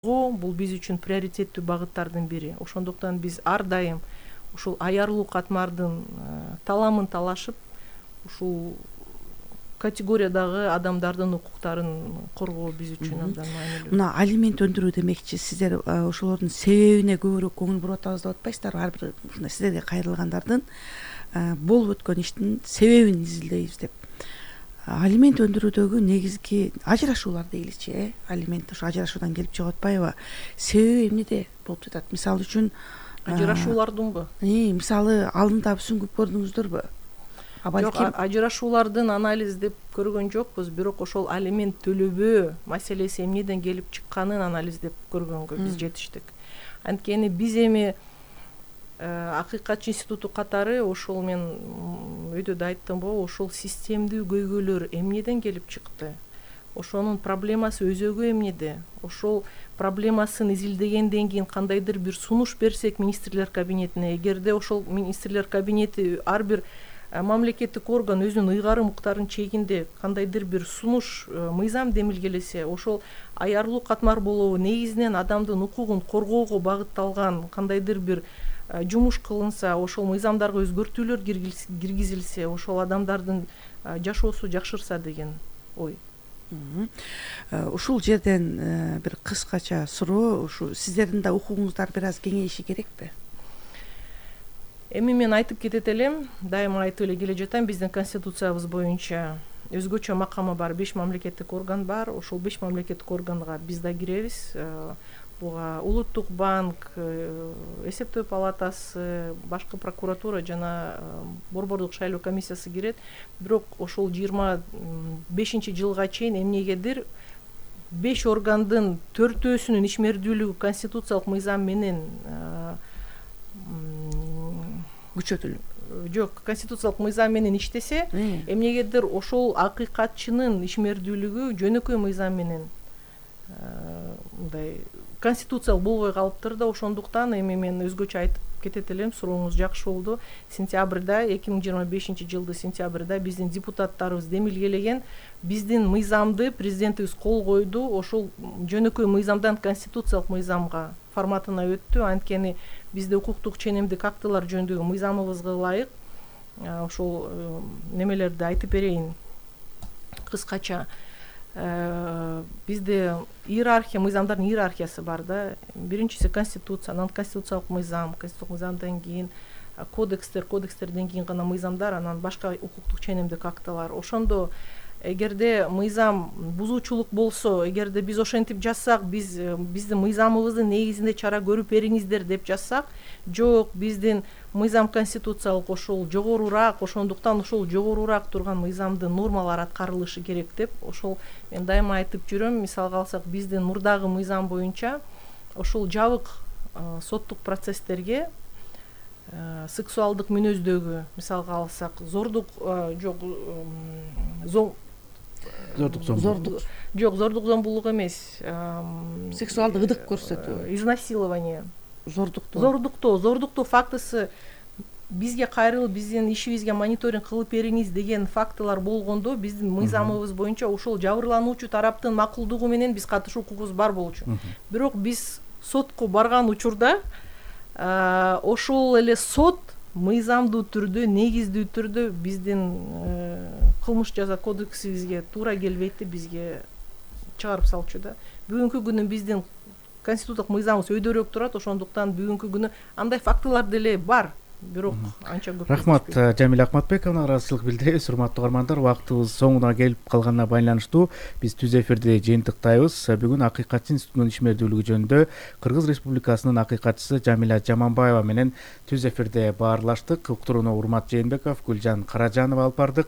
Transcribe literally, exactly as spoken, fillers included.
Бул биз үчүн приоритеттүү багыттардын бири. Ошондуктан биз ар дайым ушул аярлуу катмардын таламын талашып, ушул категориядагы адамдардын укуктарын коргоо биз үчүн абдан маанилүү. Мына алимент өндүрүү демекчи, сиздер ошолордун себебине көбүрөөк көңүл буруп атабыз деп атпайсыздарбы? Ар бир ушундай сиздерге кайрылгандардын болуп өткөн иштин себебин изилдейбиз деп. Алимент өндүрүүдөгү негизги ажырашуулар дейличи, э? Алимент ошо ажырашуудан келип чыгып атпайбы? Себеби эмнеде болуп жатат? Мисалы үчүн ажырашуулардынбы? Э, мисалы алдында сүңгүп көрдүңүздөрбү? Жок, ажырашуулардын анализдеп көргөн жокпуз, бирок ошол алимент төлөбөө маселеси эмнеден келип чыкканын анализдеп көргөнгө биз жетиштик. Анткени биз эми Акыйкатчы институту катары ошол мен өйдө да айттымбы, ошол системдүү көйгөйлөр эмнеден келип чыкты? Ошонун проблемасы өзөгү эмнеде? Ошол проблемасын изилдегенден кийин кандайдыр бир сунуш берсек министрлер кабинетине, эгерде ошол министрлер кабинети ар бир мамлекеттик орган өзүнүн ыйгарым укуктарынын чегинде кандайдыр бир сунуш мыйзам демилгелесе, ошол аярлуу катмар болобу негизинен адамдын укугун коргоого багытталган кандайдыр бир жумуш кылынса, ошол мыйзамдарга өзгөртүүлөр киргизилсе, ошол адамдардын жашоосу жакшырса деген ой. Ушул жерден бир кыскача суроо, ушу сиздердин да укугуңуздар бир аз кеңейиши керекпи? Эми мен айтып кетет элем, дайыма айтып эле келе жатам, биздин конституциябыз боюнча өзгөчө макамы бар беш мамлекеттик орган бар. Ошол беш мамлекеттик органга биз да киребиз. Буга Улуттук банк, эсептөө палатасы, башкы прокуратура жана борбордук шайлоо комиссиясы кирет. Бирок ошол жыйырма бешинчи жылга чейин эмнегедир беш органдын төртөөсүнүн ишмердүүлүгү конституциялык мыйзам менен күчөтүлүп, жок, конституциялык мыйзам менен иштесе, эмнегедир ошол акыйкатчынын ишмердүүлүгү жөнөкөй мыйзам менен мындай конституциялык болбой калыптыр да. Ошондуктан эми мен өзгөчө айтып кетет элем, сурооңуз жакшы болду. Сентябрда, эки миң жыйырма бешинчи жылдын сентябрда биздин депутаттарыбыз демилгелеген биздин мыйзамды президентибиз кол койду. Ошол жөнөкөй мыйзамдан конституциялык мыйзамга форматына өттү. Анткени бизде укуктук ченемдик актылар жөнүндөгү мыйзамыбызга ылайык ошол немелерди айтып берейин кыскача. Бизде иерархия, мыйзамдардын иерархиясы бар да. Биринчиси конституция, анан конституциялык мыйзам, конституциялык мыйзамдан кийин кодекстер, кодекстерден кийин гана мыйзамдар, анан башка укуктук ченемдик актылар. Ошондо эгерде мыйзам бузуучулук болсо, эгерде биз ошентип жазсак, биз биздин мыйзамыбыздын негизинде чара көрүп бериңиздер деп жазсак, жок, биздин мыйзам конституциялык ошол жогорураак, ошондуктан ошол жогорураак турган мыйзамдын нормалары аткарылышы керек деп, ошол мен дайыма айтып жүрөм. Мисалга алсак, биздин мурдагы мыйзам боюнча ошол жабык соттук процесстерге сексуалдык мүнөздөгү, мисалга алсак, зордук жок, зордук зомбулук, жок, зордук зомбулук эмес, сексуалдык ыдык көрсөтүү, изнасилование, зордуктоо, зордуктоо, зордуктоо фактысы бизге кайрылып, биздин ишибизге мониторинг кылып бериңиз деген фактылар болгондо, биздин мыйзамыбыз боюнча ошол жабырлануучу тараптын макулдугу менен биз катышуу укугубуз бар болчу. Бирок биз сотко барган учурда ошол эле сот мыйзамдуу түрдө, негиздүү түрдө биздин кылмыш жаза кодексибизге туура келбейт деп бизге чыгарып салчу да. Бүгүнкү күнү биздин конституциялык мыйзамыбыз өйдөрөөк турат, ошондуктан бүгүнкү күнү андай фактылар деле бар, бирок анча көп. Рахмат, Жамиля Акматбековна, ыраазычылык билдиребиз. Урматтуу угармандар, убактыбыз соңуна келип калганына байланыштуу биз түз эфирди жыйынтыктайбыз. Бүгүн Акыйкатчы институтунун ишмердүүлүгү жөнүндө Кыргыз Республикасынын акыйкатчысы Жамиля Жаманбаева менен түз эфирде баарлаштык. Уктурууну Урмат Жээнбеков, Гүлжан Каражанова алып бардык.